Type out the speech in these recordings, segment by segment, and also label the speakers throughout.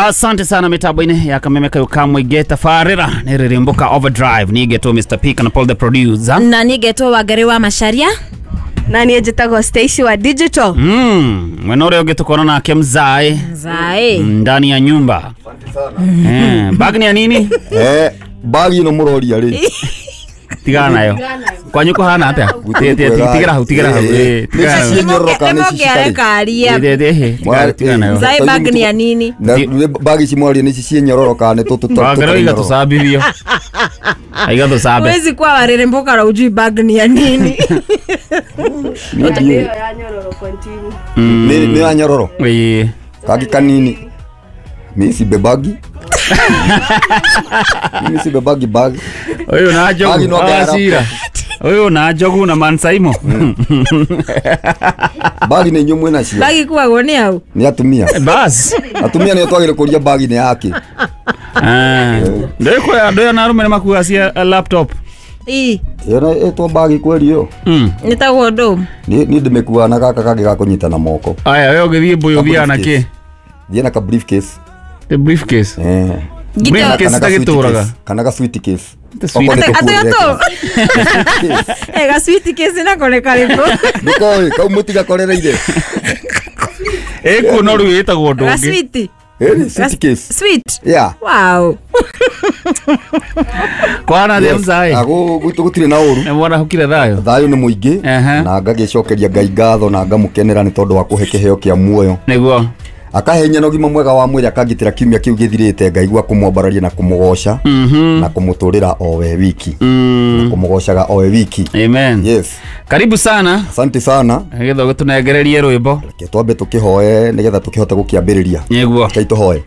Speaker 1: Asante sana mitambo-inĩ ya Kameme kayo kamwĩngĩ tabarĩra nĩ rĩrĩmbũka overdrive nigetwo Mr P kana Paul the producer
Speaker 2: na nigetwo Wangari wa Macharia
Speaker 3: na niĩ njĩtagwo Stacy wa digital.
Speaker 1: Mwena ũrĩa ũngĩ tũkona nake mzae
Speaker 2: Mzae
Speaker 1: ndani ya nyumba. Bag ni ya nini?
Speaker 4: Bag ĩno mũroria rĩ.
Speaker 1: Tigana nayo. Kwanyu kũhana atĩa? Tigĩra hau, tigĩra hau. Tigana nayo.
Speaker 2: Mzae bag ni ya nini?
Speaker 4: Bag ici mwaria nĩ ici ciĩ nyororo kana nĩ tũtũ.
Speaker 1: Wangari igatũcambithio. Igatũcambe.
Speaker 2: Huwezi kuwa wareremboka na ujui bag ni ya nini.
Speaker 3: Nĩ ya nyororo continue.
Speaker 4: Nĩ ya nyororo. Kagi kanini. Mimi si bebagi. Mimi si bebagi bag.
Speaker 1: Ũyũ na njogu. Acira. Ũyũ na njogu na mansaimo.
Speaker 4: Bagi nĩ inyuĩ mwĩna cio.
Speaker 2: Bagi kuagwo nĩ au?
Speaker 4: Nĩ atumia.
Speaker 1: Bas.
Speaker 4: Atumia nĩo twagĩrĩire kũria bagi nĩ yake.
Speaker 1: Ndĩkwĩra andũ aya na arũme nĩ makuaga cia laptop.
Speaker 2: Ii.
Speaker 4: Ĩyo ĩtwo bagi kweri ĩyo.
Speaker 2: Nĩtagwo ndũ.
Speaker 4: Niĩ ndĩmĩkuaga na gaka kangĩ ga kũnyita na moko.
Speaker 1: Aya, we ũngĩthiĩ mbũyũ ũthiaga na kĩ?
Speaker 4: Thiĩ na ka briefcase.
Speaker 1: The briefcase. Briefcase tagĩtũraga.
Speaker 4: Kana ga suitcase.
Speaker 2: Ga suitcase nako nĩ karĩkũ?
Speaker 4: Ndũkoĩ, kau mũtigakorereire.
Speaker 1: Ĩkuo no rĩu ĩtagwo ũndũ
Speaker 2: Ga
Speaker 1: ũngĩ.
Speaker 2: sweet.
Speaker 4: Suitcase.
Speaker 2: Sweet.
Speaker 4: Yeah.
Speaker 2: Wow.
Speaker 1: Kwana thĩ mzae.
Speaker 4: Gwitũ gũtirĩ na ũru.
Speaker 1: Nĩ mwana hukire thayũ.
Speaker 4: Thayũ nĩ mũingĩ na ngagĩcokeria Ngai ngatho na ngamũkenera nĩ tondũ wa kũhe kĩheo kĩa muoyo.
Speaker 1: Nĩguo.
Speaker 4: Akahe hinya na ũgima mwega wa mwĩrĩ akangitĩra kiumia kĩu gĩthirĩte ngaigua kũmwambararia na kũmũgoca na kũmũtũrĩra o we wiki. Na kũmũgocaga o we wiki.
Speaker 1: Amen.
Speaker 4: Yes.
Speaker 1: Karibu sana.
Speaker 4: Asante sana.
Speaker 1: Nĩgetha ũgĩtũnengererie rwĩmbo.
Speaker 4: Reke twambe tũkĩhoe nĩgetha tũkĩhote gũkĩambĩrĩria.
Speaker 1: Nĩguo.
Speaker 4: Reke tũhoe.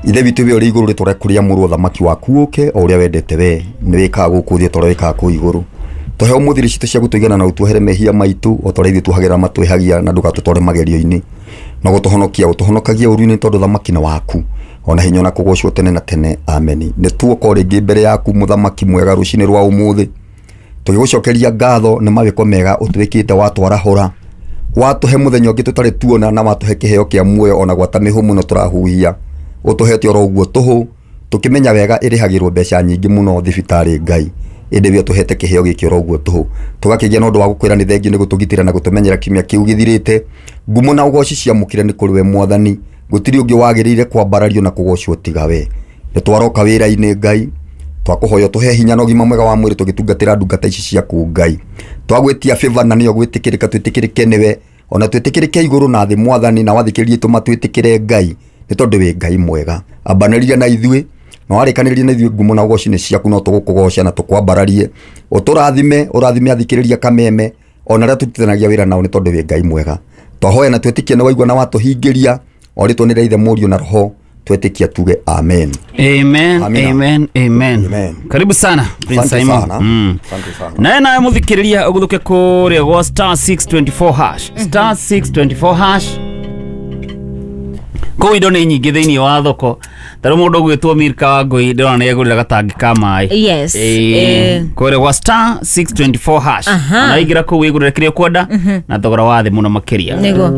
Speaker 4: Ithe witũ we ũrĩ igũrũ rĩtwa rĩaku rĩamũrwo thamaki waku ũke o ũrĩa wendete we nĩ wĩkaga gũkũ thĩ o ta ũrĩa wĩkaga kũu igũrũ. Tũhe ũmũthĩ irio citũ cia gũtũigana na ũtuohere mehia maitũ o ta ũrĩa ithuĩ tuohagĩra matwĩhagia na ndũgatũtware magerio-inĩ. Na gũtũhonokia ũtũhonokagia ũru-inĩ tondũ thamaki nĩ waku ona hinya na kũgocwo tene na tene. Ameni. Nĩ tuoka rĩngĩ mbere yaku mũthamaki mwega rũcinĩ rwa ũmũthĩ tũgĩgũcokeria ngatho nĩ mawĩko mega ũtwĩkĩte watwarahũra watũhe mũthenya ũngĩ tũtarĩ tuona na watũhe kĩheo kĩa muoyo ona gwata mĩhũmũ no tũrahuhia ũtũhete oro ũguo tũhũ tũkĩmenya wega ĩrĩhagĩrwo mbeca nyingĩ mũno thibitarĩ Ngai ĩndĩ we ũtũhete kĩheo gĩkĩ oro ũguo tũhũ tũgakĩgĩa na ũndũ wa gũkwĩra nĩ thengiũ nĩ gũtũgitĩra na gũtũmenyera kiumia kĩu gĩthirĩte. Ngumo na ũgoci ciamũkĩre nĩ kũrĩ we mwathani gũtirĩ ũngĩ wagĩrĩire kwambarario na kũgocwo tiga we. Nĩ twaroka wĩra-inĩ Ngai twakũhoya tũhe hinya na ũgima mwega wa mwĩrĩ tũgĩtungatĩra ndungata ici ciaku Ngai twagwĩtia favor na nĩyo gwĩtĩkĩrĩka twĩtĩkĩrĩke nĩwe ona twĩtĩkĩrĩke igũrũ na thĩ mwathani na wathikĩrĩrie tũmatwĩtĩkĩre Ngai nĩ tondũ wĩ Ngai mwega. Ambanĩria na ithuĩ na warĩkanĩria na ithuĩ ngumo na ũgoci nĩ ciaku no tũgũkũgoca na tũkwambararie ũtũrathime ũrathime athikĩrĩria Kameme ona arĩa tũrutithanagia wĩra nao nĩ tondũ wĩ Ngai mwega. Twahoya na twĩtĩkie nĩ waigua na watũhingĩria o rĩtwa nĩ rĩa Ithe Mũriũ na Roho twĩtĩkia tuge amen.
Speaker 1: Amen.
Speaker 4: Amina.
Speaker 1: Amen. Amen.
Speaker 4: Amen.
Speaker 1: Karibu sana Prince Simon.
Speaker 4: Asante sana.
Speaker 1: Naye nawe mũthikĩrĩria ũgũthũke kũrĩa gwa star 624 hash. Star 624 hash. Kũu indo nĩ nyingĩ thĩinĩ wa thoko. Ta rĩu mũndũ ũgwĩtwo Milka wa Ngũi ndĩrona nĩ egũrĩra gatangi ka maĩ.
Speaker 2: Yes.
Speaker 1: Kũrĩa gwa star 624 hash.
Speaker 2: Aha.
Speaker 1: Na waingĩra kũu wĩgũrĩre kĩrĩa ũkwenda na thogora wa thĩ mũno makĩria.
Speaker 2: Nĩguo.